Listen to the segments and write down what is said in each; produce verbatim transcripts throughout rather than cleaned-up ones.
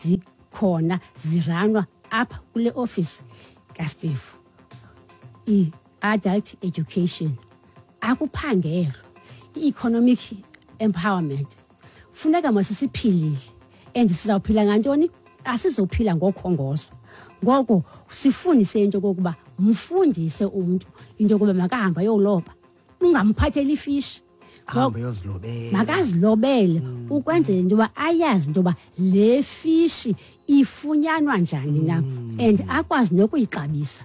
Zikhona, zirunwa apha kule office kaSteve. I-adult education, akuphangelwa, i-economic empowerment. Funeka masisiphilile, and sizawuphila ngantoni? Asizophila ngokhongozwa. Ngoko sifundise into yokokuba mfundise umntu into yokuba makahambe ayoloba, ungamphatheli ifishi. Hambe yozilobela. Makazilobele, ukwenzela into yoba ayazi into yoba le fishi ifunyanwa njani na, and akwazi nokuyixabisa.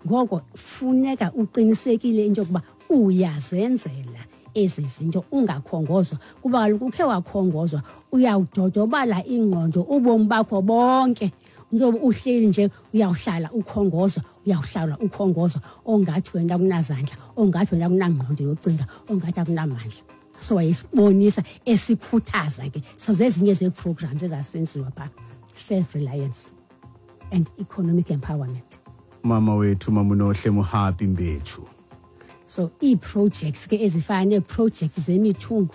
Ngoko funeka uqinisekile into yokuba uyazenzela ezi zinto, ungakhongozwa, kuba kaloku ukhe wakhongozwa, uyawudodobala ingqondo ubomi bakho bonke. Into yoba uhleli nje, uyawuhlala ukhongozwa, uyawuhlala ukhongozwa, ongathi wena akunazandla, ongathi wena akunangqondo yocinga, ongathi akunamandla. So wayesibonisa, esikhuthaza ke. So zezinye zee-programs ezasenziwa phaa, self reliance and economic empowerment. Mama wethu, Mamunohle Mohapi Mbetshu. So ii-projects ke ezifana nee-projects zemithungo.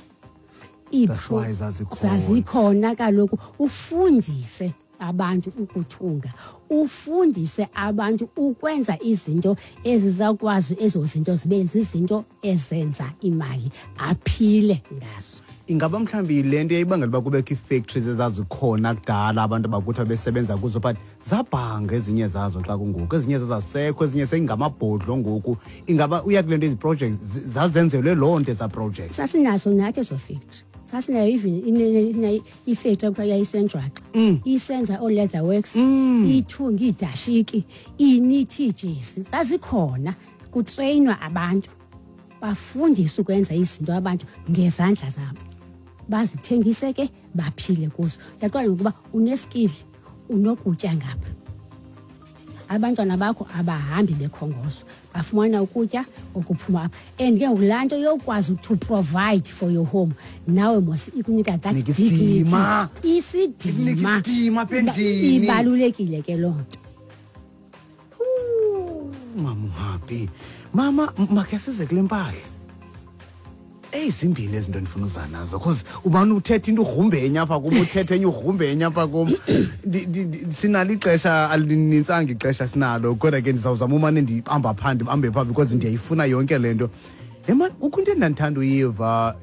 That's why zazikhona. Zazikhona kaloku. Ufundise abantu ukuthunga, ufundise abantu ukwenza izinto ezizawukwazi ezo zinto zibe zizinto ezenza imali, aphile ngazo. Ingaba mhlawumbi le nto yayibangela uba kubekho ii-factories ezazikhona kudala, abantu abakuthi babesebenza kuzo, but zabhanga ezinye zazo xa kungoku, ezinye zazasekho, ezinye seyingamabhodlo ngoku? Ingaba uya kule nto, ezi projects zi- zazenzelwe loo nto, ezaa projects? Sasinazo nathi ezo factory. Sasinayo even ine- ine- ifactory ekuthiwa yayisenjwaxa, isenza oo-leather works, ithunga iidashiki, inithi iijezi. Zazikhona, kutreyinwa abantu, bafundiswe ukwenza izinto abantu ngezandla zabo, bazithengise ke, baphile kuzo. Uyaqonda ngokuba uneskill, unokutya ngapha, abantwana bakho abahambi bekhongozwa, bafumana ukutya okuphuma apha. And ke ngoku laa nto yokwazi to provide for your home nawe mos ikunika that Ikunika dignity. Isidima. Isidima. Ikunika isidima apha endlini. Ibalulekile ke loo nto. Mama uhappy, mama, m- makhe size kule mpahla. Eyi, zimbini ezi zinto ndifuna uza nazo, 'cause ubani uthetha into ugrumbe enye apha kum, uthethe enye ugrumbe enye apha kum. Ndi- ndi- ndi- sinalo ixesha, alinintsanga ixesha sinalo, kodwa ke ndizawuzama umane ndibamba phaa, ndibambe phaa, because ndiyayifuna yonke le nto. Ye mani, kukho into endandithanda uyiva.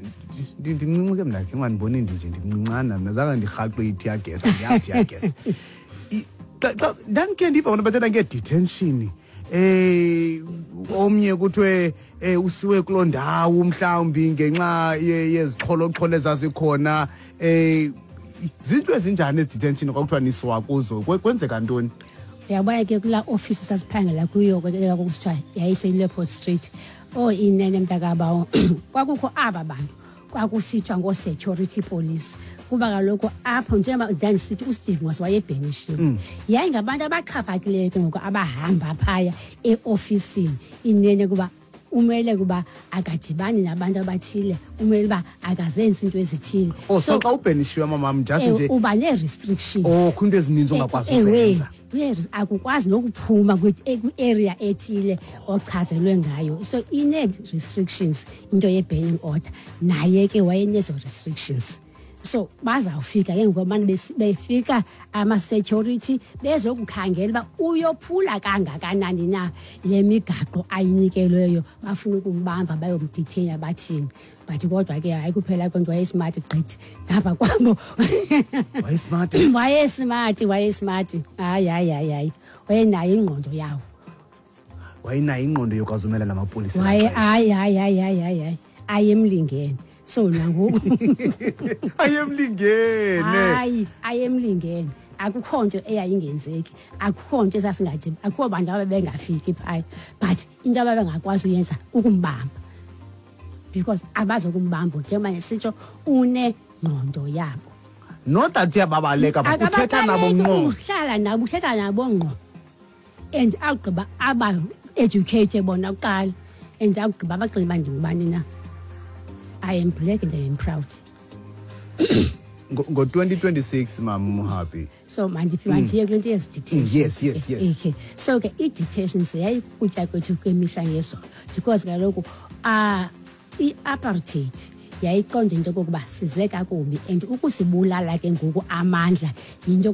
Ndi- ndimncinci ke mna, khe ungandiboni ndinje, ndimncincana mna, zange ndirhaqwe i-tear gas, andiyazi tear gas. I- xa xa ndandikhe ndiva abantu bathetha ngee-detention, eh omnye kuthiwe eh usiwe kuloo ndawo mhlawumbi ngenxa ye- yezixholoxholo ezazikhona. eh zinto ezinjani ezi-detention kwakuthiwa nisiwa kuzo? Kwe- kwenzeka ntoni? Uyabona ke, kulaa ofisi sasiphangela kuyo kusithiwa yayiseLeopold Street, oh inene mntakabawo, kwakukho aba bantu kwakusithiwa ngoo-security police, kuba kaloku apho, njengoba ndandisithi uSteve mos wayebanishiwe, yayingabantu abaxhaphakileyo ke ngoku abahamba phaya eofisini. Inene kuba umele kuba akadibani nabantu abathile, umele uba akazenzi into ezithile. Oh, so xa ubanishiwe, mamam, just Eh, nje uba nee-restrictions. Oh, kho into ezininzi ongakwazi Ewe, uzenza. nee- akukwazi nokuphuma kwi- eh, kwi-area ethile ochazelwe ngayo. So ine-restrictions into ye-banning order. Naye ke wayenezo restrictions. So bazawufika ke ngoku abantu, besi- befika ama-security bezokukhangela uba uyophula kangakanani na le migaqo ayinikelweyo, bafuna ukumbamba, bayomdetaina, bathini. But kodwa ke hayi, kuphela kwento, wayesmart gqithi ngapha kwabo. Wayesmart? Wayesmart, wayesmart. Hayi, hayi, hayi, hayi, wayenayo ingqondo yawo. Wayenayo ingqondo yokwazi umela namapolisa Waye ngexesha. Hayi, hayi, hayi, hayi, hayi, hayi, ayemlingene. So nangoku Ayemlingene. Hayi, ayemlingene. Akukho nto eyayingenzeki, akukho nto esasingathi, akukho bantu ababengafiki phaya, but into ababengakwazi uyenza kukumbamba, because abazokumbamba njengoba nesitsho unengqondo yabo. Not that uyababaleka, but uthetha nabo Akababaleki. Ngqo. Uhlala nabo, uthetha nabo ngqo, and awugqiba aba-educate bona kuqala, and awugqiba abaxele uba ndingubani na. I am black and I am proud. Ngo-twenty twenty-six, mama Muhabi. So mandiphi, mandiye kule nto yezi detention. Mm, yes, yes, yes. Okay, so ke ii-detentions yayikutya kwethu kwemihla ngezolo, because kaloku uh, i-apartheid yayiqonda into yokokuba size kakubi and ukusibulala ke ngoku amandla yinto.